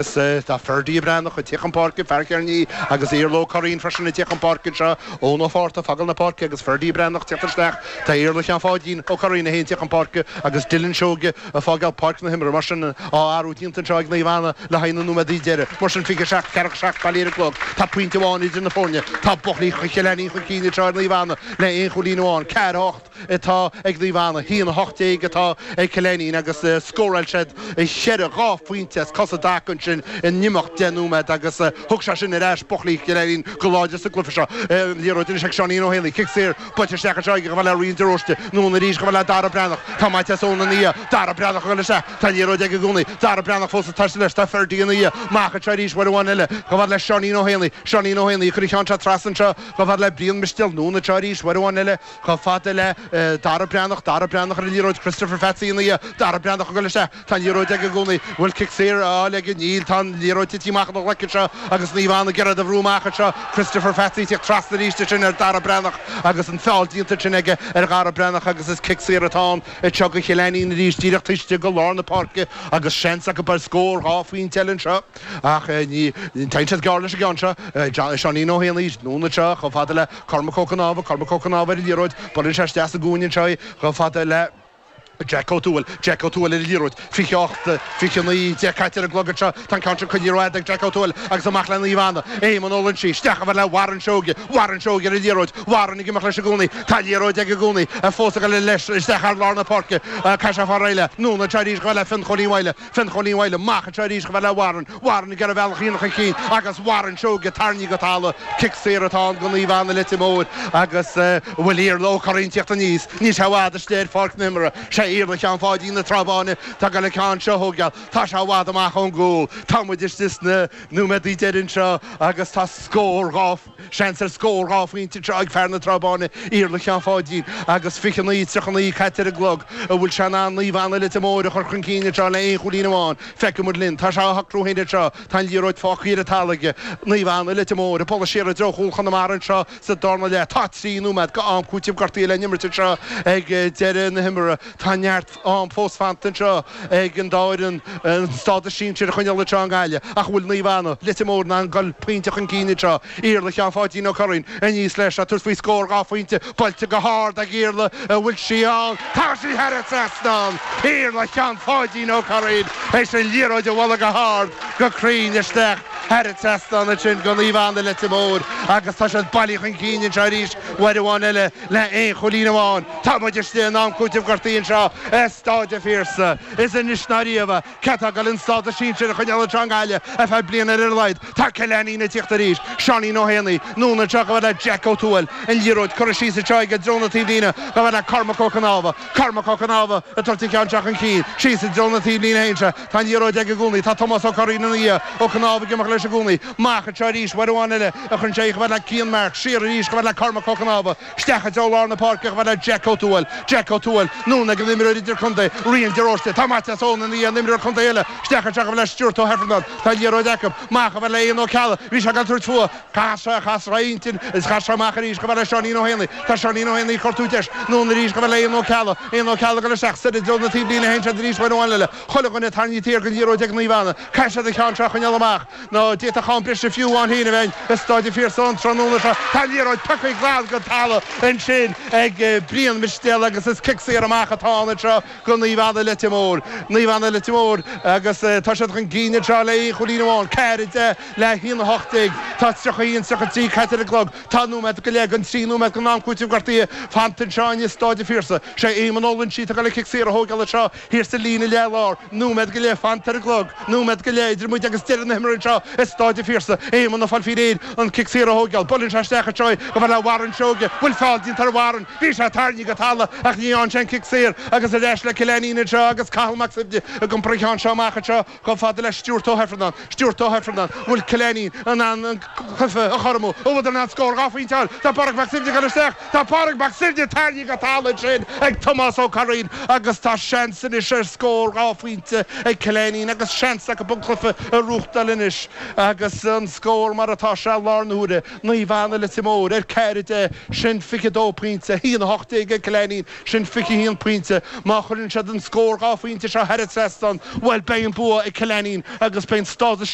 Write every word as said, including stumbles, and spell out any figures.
Tá Ferdie Breathnach ag teacht chun páirce, fear Chearnaí agus Iarla Ó Curraoin freisin ag teacht chun páirce anseo, Eoin Ó Fátharta ag fágáil na páirce agus Ferdie Breathnach ag teacht isteach. Tá Iarla Sheáin Pháidín Ó Curraoin é féin ag teacht chun páirce agus Dylan Seoige ag fágáil páirc na himeartha. Mar sin, á athrú déanta anseo ag Naomh Anna le haghaidh na nóiméadaí deiridh. Mar sin, fiche seacht, ceathracha seacht bailithe ar an gclog. Tá pointe amháin idir na foirne. Tá Buthleach Chill Ainnín chun cinn anseo ar Naomh Anna le aon chúilín amháin, ceathair a hocht. atá ag Naomh Anna, haon a hocht déag atá ag Cill Ainnín agus scóráil siad cheithre dhá phointe as cos i dtaca ansin in imeacht deich nóiméad agus thug sé sin ar ais Buthleach Chill Ainnín go láidir sa gcluiche seo. Liathróid anois ag Seáinín Ó hÉanaí, cic saor buailte isteach anseo aige chomh fada le Rian de Róiste, anonn arís chomh fada le Dara Breathnach. Tá Maitias Eoin ina dhiaidh, Dara Breathnach ag dul isteach, tá an liathróid aige i gcónaí, Dara Breathnach fós ag taisteal leis, tá Ferdie ina dhiaidh, amach anseo arís uair amháin eile chomh fada le Seáinín Ó hÉanaí, Seáinín Ó Héanaí ag cur an cheann seo trasna anseo chomh fada le Brian Mistéil, anonn anseo arís uair amháin eile. Chomh fada le Dara Breathnach, Dara Breathnach ar an liathróid, Christopher Pheatsaí ina dhiaidh, Dara Breathnach ag dul isteach, tá an liathróid aige i gcónaí, bhfuil cic saor á fháil aige? Níl, tá an liathróid tite amach óna ghlaic anseo agus Naomh Anna ag iarraidh a bhrú amach anseo, Christopher Pheatsaí ag tíocht trasna arís ansin ar Dara Breathnach agus an feall déanta ansin aige ar Dhara Breathnach agus is cic saor atá ann anseo do Chill Ainnín arís díreach taobh istigh de lár na páirce agus seans acu ar scór dhá phointe eile anseo. Ach ní téann siad gearr leis an gceann seo. Seáinín Ó hÉanaí, anonn anseo chomh fada le Cormac Ó Cnámha, Cormac Ó Cnámha ar an liathróid, buaileann sé isteach sa gcúinne anseo í chomh fada le Jack Ó Tuathail, Jack Ó Tuathail ar an liathróid, fiche ocht, fiche naoi déag caite ar an gclog anseo. Tá an ceann sin coinnithe rófhada ag Jack Ó Tuathail agus amach le Naomh Anna. Éamonn Ó Loinsigh, isteach chomh fada le Warren Seoige, Warren Seoige ar an liathróid, Warren ag imeacht leis i gcónaí. Tá an liathróid aige i gcónaí, fós ag dul leis isteach thar lár na páirce. Caithfidh sé fáil réidh léi. Anonn anseo arís chomh fada le Fionn Chóilín Mhaidhle. Fionn Chóilín Mhaidhle amach anseo arís chomh fada le Warren. Warren ag iarraidh a bhealach a dhéanamh chun cinn agus Warren Seoige tarraingthe go talamh. Cic saor atá ann do Naomh Anna Leitir Móir agus an bhfuil Iarla Ó Curraoin ag tíocht aníos. Níl sé i bhfad istigh ar pháirc na himeartha. Sé Iarla Sheáin Pháidín na Trá Báine atá ag dul an ceann seo a thógáil. Tá sé i bhfad amach ón gcúl. Tá muid istigh sna nóiméadaí deiridh anseo agus tá scór dhá Seans ar scór dhá phointe anseo ag fear na Trá Báine, Iarla Sheáin Pháidín, agus fiche naoi, tríocha naoi caite ar an gclog. An bhfuil sé in ann Naomh Anna Leitir Móir a chur chun cinn anseo le aon chúilín amháin? Feicfidh muid linn. Tá sé á shocrú féin anseo. Tá an liathróid fágtha ar an talamh aige. Naomh Anna Leitir Móir ag bualadh siar i dtreo chúl Chonamara anseo sa darna leath. Tá trí nóiméad go am cúitimh gortaithe le n-imirt anseo ag deireadh na himeartha. Tá neart am fós fanta anseo ag an dá fhoireann an stádas sinsir a choinneáil anseo i nGaillimh. Ach an bhfuil Naomh Anna, Leitir Móir in ann dul pointe chun cinn anseo? Iarla Sheáin Pháidín Ó Curraoin aníos leis ag tabhairt faoi scór dhá phointe buailte go hard ag Iarla an bhfuil sí ann? Tá sí thar an trasnán! Iarla Sheáin Pháidín Ó Curraoin théis an liathróid a bhualadh go hard go cruinn isteach thar an trasnán ansin do Naomh Anna Leitir Móir agus tá siad bailithe chun cinn anseo arís uair amháin eile le aon chúilín amháin. Tá muid istigh in am cúitimh gortaithe anseo i Stáid an Phiarsaigh. Is anois ná riamh cé atá ag dul an stádas sinsir a choinneáil anseo i nGaillimh ar feadh bliana ar a laghad. Tá Cill Ainnín ag tíocht arís. Seáinín Ó hÉanaí, anonn anseo chomh fada le Jack Ó Tuathail. An liathróid curtha síos anseo aige i dtreo na taobhlíne chomh fada le Cormac Ó Cnámha. Cormac Ó Cnámha ag tabhairt an ceann seo chun cinn. Síos i dtreo na taobhlíne a théann sé. Tá an liathróid aige i gcónaí. Tá Tomás Ó Curraoin ina dhiaidh. Ó Cnámha ag imeacht leis i gcónaí. Amach anseo arís uair amháin eile a chuireann sé í chomh fada le Cian Marks. Siar arís chomh fada le Cormac Ó Cnámha. Isteach i dtreo lár na páirce chomh fada le Jack Ó Tuathail. Jack Ó Tuathail, anonn ag an imreoir idirchontae, Rian de Róiste. Tá Maitias Eoin ina dhiaidh, an imreoir contae eile. Isteach anseo chomh fada le Stuart Ó hIfearnáin. Tá an liathróid acu. Amach chomh fada le Éanna Ó Ceallaigh. Bhí sé ag tabhairt fúthu. Chas sé, chas sé a intinn is chas sé amach arís chomh fada le Seáinín Ó hÉanaí. Tá Seáinín Ó Héanaí ag cuartú deis. Anonn arís chomh fada le Éanna Ó Ceallaigh. Éanna Ó Ceallaigh ag dul isteach soir i dtreo na taobhlíne a théann siad arís uair amháin eile. Chuile dhuine tarraingthe thiar den liathróid ag Naomh Anna. Caithfidh siad an ceann seo a choinneáil amach. Nó d'fhéadfadh am breise fiú amháin féin a bheith i Stáid an Phiarsaigh an tráthnóna seo. Tá an liathróid pioctha glan den talamh ansin ag Brian Mistéil agus is cic saor amach atá ann anseo do Naomh Anna Leitir Móir. Naomh Anna Leitir Móir agus tá siad chun cinn anseo le aon chúilín amháin, ceathair a deich le haon a hocht déag. Tá tríocha a haon, tríocha a trí caite ar an gclog. Tá nóiméad go leith den trí nóiméad den am cúitimh gortaithe fanta anseo i Stáid an Phiarsaigh. Sé Éamonn Ó Loinsigh atá ag dul an cic saor a thógáil anseo thiar sa líne leath-lár. Nóiméad go leith fanta ar an gclog. Nóiméad go leith idir muid agus deireadh na himeartha anseo i Stáid an Phiarsaigh. Éamonn ag fáil faoi réir an cic saor a thógáil. Buaileann sé isteach anseo í chomh fada le Warren Seoige. Bhfuil feall déanta ar Warren? Bhí sé tarraingthe go talamh ach ní dhearna sé an cic saor agus ar ais le Cill Ainnín anseo agus Cathal Mac Suibhne ag iompar an cheann seo amach anseo chomh fada le Stuart Ó hIfearnáin. Stuart Ó hIfearnáin. Bhfuil Cill Ainnín in ann an cluiche a chothromú? An bhfuil in ann scór dhá phointe a fháil? Tá Pádraig Mac Suibhne ag dul isteach. Tá Pádraig Mac Suibhne tarraingthe go talamh ansin ag Tomás Ó Curraoin agus tá seans anois ar scór dhá phointe ag Cill Ainnín agus seans acu an cluiche a ghnóthachtáil anois. agus an scór mar atá sé láthair na huaire Naomh Anna Leitir Móir ar ceathair deich sin fiche dó pointe haon a hocht déag ag Cill Ainnín sin fiche haon pointe má chuireann siad an scór dhá phointe seo thar an trasnán bhuel beidh an bua ag Cill Ainnín agus beidh an stádas